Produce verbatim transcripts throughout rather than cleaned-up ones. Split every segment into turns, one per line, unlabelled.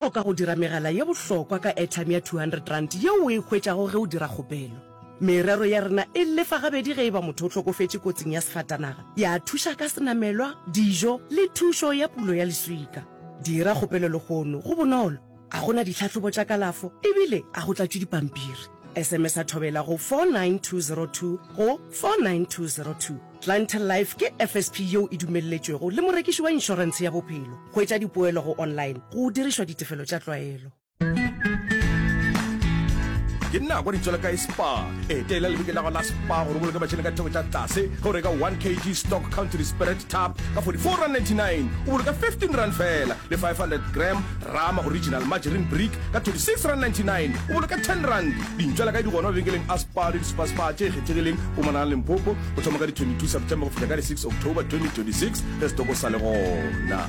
Hloka go dira megala ye bohlokwa ka airtime ya two hundred rand yeo o e hwetšago ge o dira kgopelo. Merero ya rena e lefa gabedi ge e ba motho o hlokofetše kotsing ya sefatanaga, ya thuša ka senamelwa, dijo le thušo ya pulo ya leswika. Dira kgopelo lehono, go bonolo, ga go na ditlhahlobo tša kalafo ebile ga go tlatšwe dipampiri. S M S-a Thobela go four nine two zero two go four nine two zero two. Clientele Life ke F S P yeo e dumelletšwego le morekiši wa inšorentshe ya bophelo. Hwetša dipoelo go online go dirišwa ditefelo tša tlwaelo.
Ke nako di tswela kae Spar? Etela lebenkele la gago la Spar gore o boloke mašeleng ka ditheko tša tlase ge o reka one K G Stock Country Spirit Tub ka forty-four rand ninety-nine, o boloka fifteen rand fela, le five hundred gram Rama Original Margarine Brick ka twenty-six rand ninety-nine, o boloka ten rand. Dintšwela kae di gona mabenkeleng a Spar le di-Spar-Spar tše kgethegileng Mpumalanga le Limpopo go thoma ka di twenty-two September go fihla ka di six October twenty twenty-six ge setoko sa le gona.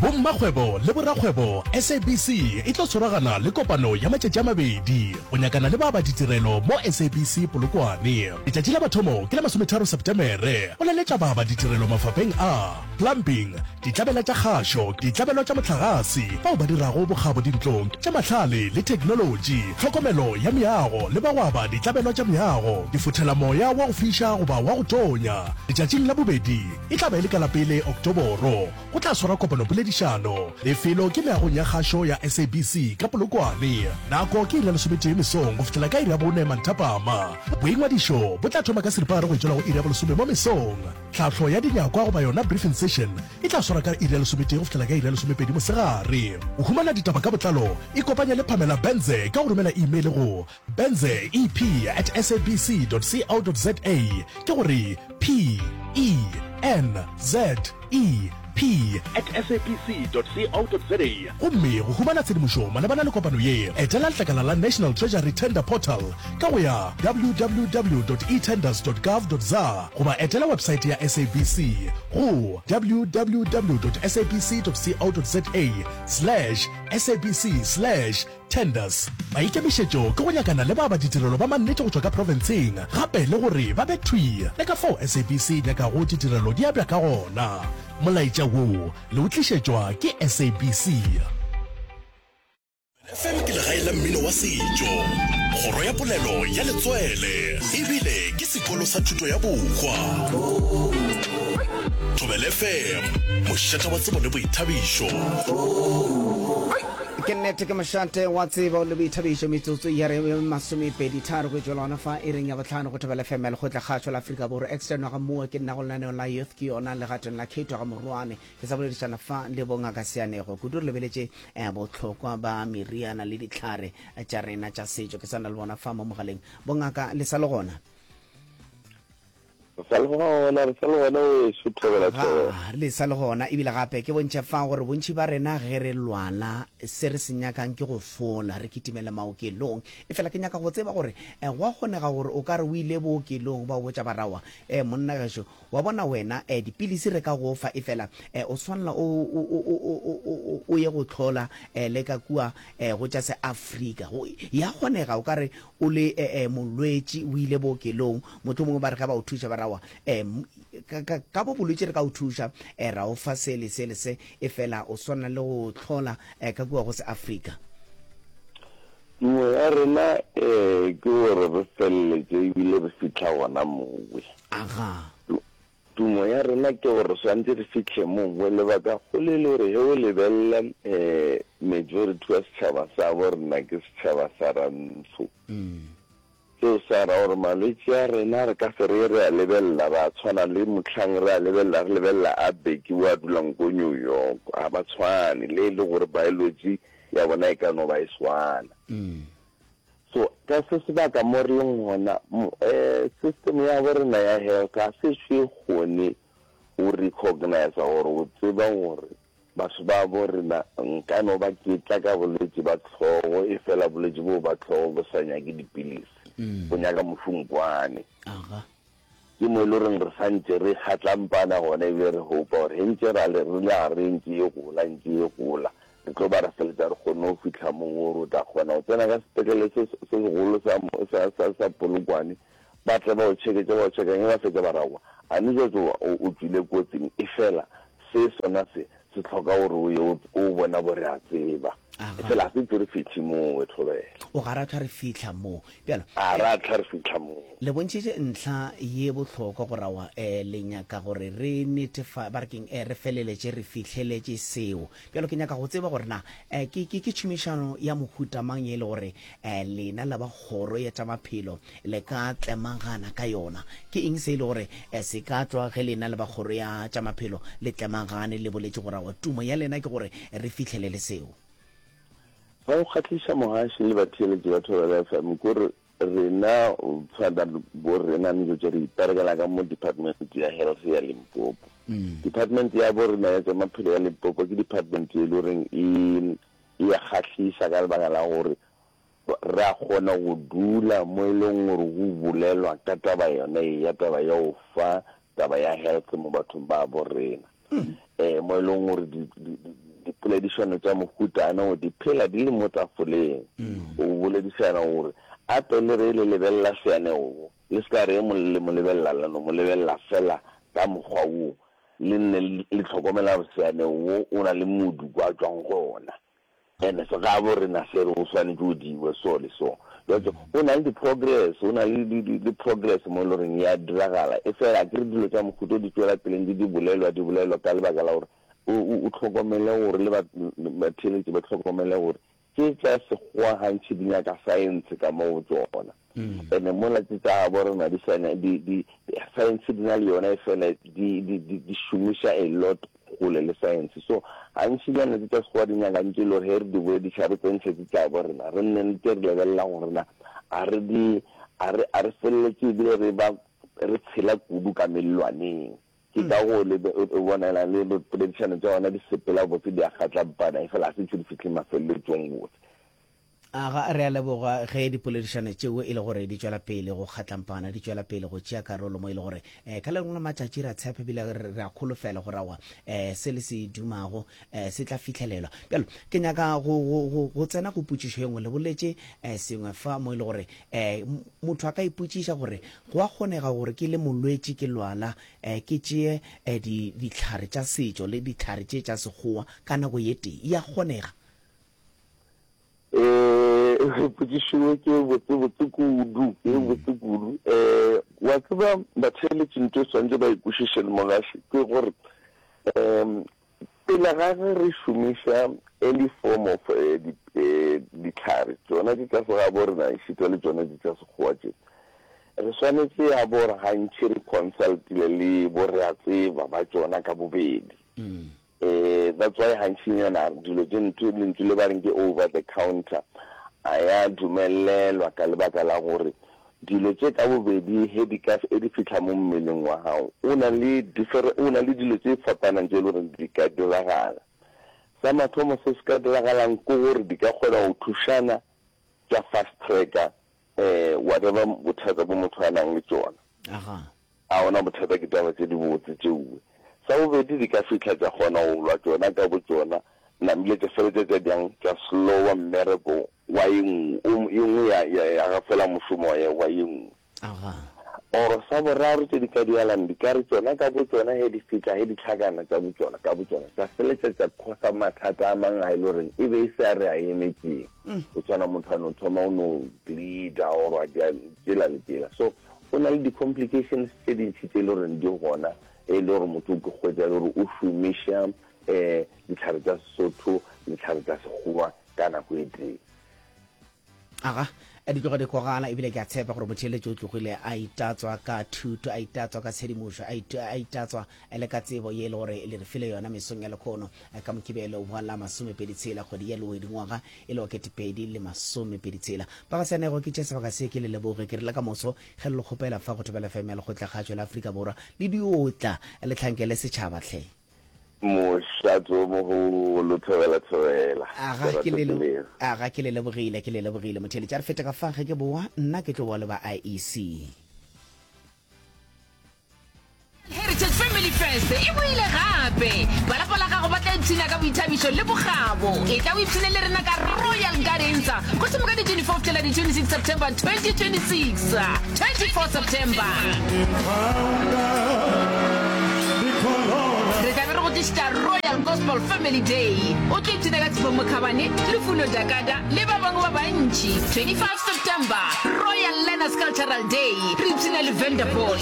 Bommakgwebo le borakgwebo, S A B C e tlo tshwaragana le kopano ya matšatši a mabedi go nyakana le ba ba ditirelo mo S A B C Polokwane. Letšatši la mathomo ke la masometharo Setemere go laletša ba ba ditirelo mafapeng a plumbing, ditlabela tša kgašo, ditlabelo tša mohlagase, bao ba dirago bokgabo dintlong, tša mahlale le theknolotši, tlhokomelo ya meago le ba go aba ditlabelo tša meago, difothelamoya wa go fiša goba wa go tonya. Letšatšing la bobedi e tla ba e le ka la pele Oktoboro go tla swarwa kopanopoledišano. Lefelo ke meagong ya kgašo ya S A B C ka Polokwane. Nako ke iri ya lesometee mesong go fihlela ka iri ya bone manthapama. Boingwadišo bo tla thoma ka seripagare go tšwela go iri ya bolesome mo mesong. Tlhahlo ya dinyakwa goba yona briefing session e tla swarwa ka iri ya lesometee go fihlela ka iri ya lesomepedi mosegare. Go humana ditaba ka botlalo, ikopanye le Pamela Benze ka go romela email go benze E P at S A B C dot co dot za, ke gore P E N Z E P at S A B C dot co dot za. Gomme go humana tshedimošo malebana le kopano ye, etela letlakala la National Treasury Tender Portal ka go ya W W W dot etenders dot gov dot za goba etela websaete ya S A B C go W W W dot S A B C dot co dot za slash S A B C slash tenders. Maikemišetšo ke go nyakana le ba ba ditirelo ba mannete go tšwa ka profenseng, gape le gore ba be thwi le ka fao S A B C e nyakago ditirelo di abja ka gona. Molaetša wo le o tlišetšwa ke S A B C. F M ke legae la mmino wa setšo, kgoro ya polelo ya letswele, ebile ke sekolo sa thuto ya bohwa. Thobela F M, mošate wa tsebo le boithabišo.
Ke nnete, ke mošate wa tsebo le boithabišo. Metsotso ya re masomepedi tharo go tšwela gona fa iring ya bohlano go Thobela F M ya Lekgotla Kgašo la Afrika Borwa. Externwa ga Moa ke nna go lenaneo la Youth ke yona legatong la Kate ga Morwane. Ke sa boledišana fa le bongaka Seanego kudu, re lebeletše eh, bohlokwa ba meriana le ditlhare tša rena tša setšo. Ke sa na le bona fa mo mogaleng. Bongaka, le sa le gona?
Re sa le gona, re sa le gona weso, Thobela, Thobela.
Ga le sa le gona. Ebile gape ke bontšhe fa gore bontši ba rena ge re lwala, se re se nyakang ke go fola, re kitimele maokelong. E fela ke nyaka go tseba gore eh, go a kgonega gore o ka re o ile bookelong, ba o botša barawa, um monna gešo, wa bona wena, um dipilisi re ka go fa, e fela um o swanela o, o, o, o, o, o, o ye go tlhola um le ka kua um go tša se Afrika. Go ya kgonega o ka re o le eh, eh, molwetši o ile bookelong, motho mongwe ba re ge ba o thuša ba rawa um ka, ka, ka bo bolwetši re ka o thuša, um ra o fa se le se le se, e fela o swana le go tlhola um ka kua go se Afrika?
Tumo ya rena um ke gore re feleletše ebile re fihla gona mowe.
Aga.
Tumo ya rena ke gore swantse re fihle mowe. Lebaka kgolo e le gore ge o lebelela um majority wa setšhaba sa bo rena ke setšhaba sa rantsho. Seo sa ra gore malwetši a rena re ka se re re a lebelela ra tshwana le mohlang re a lebelela, re lebelela a Beki o a dulang ko New York. Ga ba tshwane, le e le gore biology ya bona e ka no ba e swana. So ka se sebaka mo re leng gona, um system ya bo rena ya health ga se e kgone go recognize gore o tseba gore batho ba bo rena nka no ba ke tla ka bolwetši ba tlhogo, e fela bolwetši bo ba tlhogo bo sa nyake dipilisi, bo nyaka mošunkwane.
Aga.
Ke mo e le goreng re santše re kgatlampana gona, ebile re hopa gore ge ntše ra le re le gare ntše e gola, ntše e gola, re tlo ba re feletša re kgonne go fihla moo gore o tla kgona go tsena ka sepetlele se se segolo sa sa sa sa Polokwane, ba tle ba o check-e tše ba o check-ang, ge ba fetša ba rawa a ne jwatso o tšwile kotsing, e fela Se sona se, se hloka gore o ye o, o bona bo re a tseba.
Aga.
Efela ga se tšo re fihle moo, we thobela.
O ga ra hlwa re fihla moo. Bjalo,
A
eh,
ra hlwa re fihla moo.
Le bontšhitše ntlha ye bohlokwa gore aowa, eh, le nyaka gore re netefa, ba re keng, eh, re feleletše re fihleletše seo. Bjalo ke nyaka go tseba gore na, eh, ke, ke, ke tšhomišano ya mohuta mang ye e le gore, eh, lena la ba kgoro ya tša maphelo le ka tlemagana ka yona. Ke eng se e le gore, eh, se ka tšwa ge lena le ba kgoro ya tša maphelo le tlemagane, le boletše gore aowa, tumo ya lena ke gore re fihlelele seo?
Sa go kgahliša mogaši le batheeletši ba Thobela F M ke gore rena tshwana bo rena ntse tše re iperekela ka mo department ya health ya Limpopo. Department ya bo rena ya tša maphelo ya Limpopo ke department e le goreng e e ya kgahliša ka lebaka la gore re a kgona go dula mo e leng gore go bolelwa ka taba yona e ya taba ya go fa taba ya health mo bathong ba bo rena. Um mo e leng gore di, di, di, dipoledišano tša mohutana o di phela di le mo tafoleng. O boledišana gore a pele re le lebelela seanego, le se ka re mo le mo lebelela la no mo lebelela fela ka mokgwa wo, le nne le hlokomela gore seanego wo o na le modu kwa tšwang gona. Ene se gabo rena se re o swanetše o diwe so le so. Jwale o na le di-progress, o na le di, di, di progress mo e le goreng ya diragala. E fela a ke re dilo tša mohuta di tšwela pele ntse di bolelwa, di bolelwa ka lebaka la gore o, o, o hlokomele gore le batheeletši ba hlokomele gore tše tša sekgowa gantši di nyaka science ka mo go tšona. Ene mola tše tša gabo rena di sa di, di, science di na le yona e fela di, di, di, di šomiša a lot kgole le science. So gantšinyana tše tša sekgowa di nyaka ntše e le gore ge re di bolediša re tsentšhe tše tša bo rena, re nne ntse re lebelela gore na a re di, a re, a re feleletše ebile re ba re tshela kudu ka mellwaneng. Ke ka go le o bonela le poledišano tša ona di sepela botse, di a kgatlampana, efela ga se tšo di fihle mafeleletsong botse.
Aga, re a leboga ge dipoledišano tšeo e le gore di tšwela pele go kgatlampana, di tšwela pele go tšea karolo mo e le gore um ka le lengwe la matšatši re a tshepa ebile re a kholofela gore aowa um se le se dumago um se tla fihlelelwa. Bjalo ke nyaka go, go, go, go tsena go potšišo ye nngwe. Le boletše um sengwe fa mo e le gore um motho a ka ipotšiša gore go a kgonega gore ke le molwetši ke lwala um ke tšee um di, dihlare tša setšo le dihlare tše tša sekgowa ka nako ye tee. E a kgonega?
Eh, potšišo ye ke botse botse kudu, ke botse kudu. Eh, wa tseba batheeletši ntho e swanetše ba e kwešiše le mogaši ke gore um pele ga ge re šomiša any form of eh, di, eh, dihlare tšona tše tša segabo rena ešita le tšona tše tša sekgowa tše, re swanetše ya bo gore gantši re consultile le bo re a tseba ba tšona ka bobedi. Eh, that's why gantšinyana dilo tše ntho lentšu le ba reng ke over the counter a ya dumelelwa ka lebaka la gore dilo tše ka bobedi he di ka e di fihla mo mmeleng wa gago o na le different o na le dilo tše fapanang tše e le gore di ka diragala. Sa mathomo se se ka diragalang ke gore di ka kgona go thušana tša fast tracker eh whatever bothata bo motho a nang le tšona.
Aga.
A ona bothata ke taba tše dibotse tšeue. Sa bobedi di ka fihla tša kgona go lwa tšona ka botšona, namile tša feletša tša bjang tša slowa mmereko wa ye nngwe, o ye nngwe ya, ya, ya gafela mošomo wa, wa ye nngwe.
Aga.
Or sa boraro tše di ka dialang di ka re tšona ka botšona he di fihla he di hlakana tša botšona ka botšona tša feletša tša khosa mathata a mang a e le goreng e be e se a re a emetšeng. Go tshwana motho a no thoma o no bleeda or a dia tšela le tšela. So go na le di-complications tše dintši tše e le goreng di gona e le gore motho o ke hwetša e le gore o šomiša um dihlare tša Sesotho le dihlare tša Sekgowa ka nako e tee.
Aga, di tloga di kwagala ebile ke a tshepa gore motheeletši o tlogile a itatswa ka thuto, a itatswa ka tshedimošo, a it, a itatswa le ka tsebo ye e le gore le re file yona mesong ya lekhono ka Mokibelo wa la masomepedi tshela kgwedi ya Lewedi ngwaga e le wa ketepedi le masomepedi tshela. Ba ga Seanego ke tše sebaka se ke le leboge ke re le ka moso ge le le kgopela fa go Thobela F M ya Lekgotlakgatšo la Afrika Borwa le diotla le hlankele setšhaba hle.
Mošato o mogolo, thobela thobela.
Aga ke le aga ke le lebogile, ke le lebogile motheeletši. A re fete ka fa ge ke boa, nna ke tlo boa le ba I E C.
Heritage Family Fest e boile gape. Ba lapa la gago ba tla ipshina ka boithabišo le bokgabo. Etla o ipshine le rena ka Royal Gardens go thoma ka di twenty-four go fihlela di twenty-six September twenty twenty-six. twenty-four September. Re tla be re go tlišetša tlišetša Royal Gospel Family Day. O tlo ipshina ka Tshepo Mokhabane, Lufuno Dakada le ba bangwe ba bantši. twenty five September, Royal Learners Cultural Day, re ipshina le Vanderpool,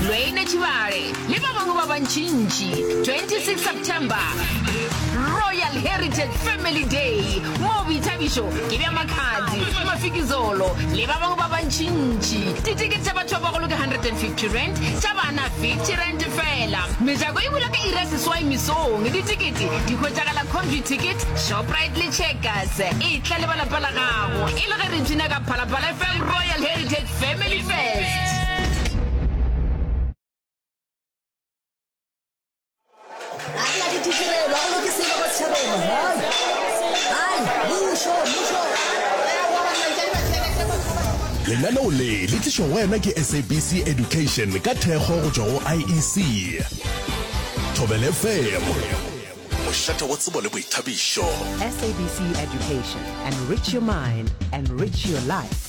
Lwayne Tshibale le ba bangwe ba bantšintši. twenty six September, Royal Heritage Family Day, moo boithabišo ke bja Makhadzi, Mafikizolo le ba bangwe ba bantšintši. Ditikete tša batho ba bagolo ke hundred and fifty rand, tša bana fifty rand feela. Mejako e bula ka iri ya seswai mesong. Ditikete di hwetšagala Computicket, Shoprite le Checkers. Etla le ba lapa la gago e le ge re ipshina ka Phalaphala F M Royal Heritage Family Fest.
Lenaneo le le tlišwa go wena ke S A B C Education ka thekgo go tšwa go I E C. Thobela F M, mošate wa tsebo le boithabišo.
S A B C Education, enrich your mind, enrich your life.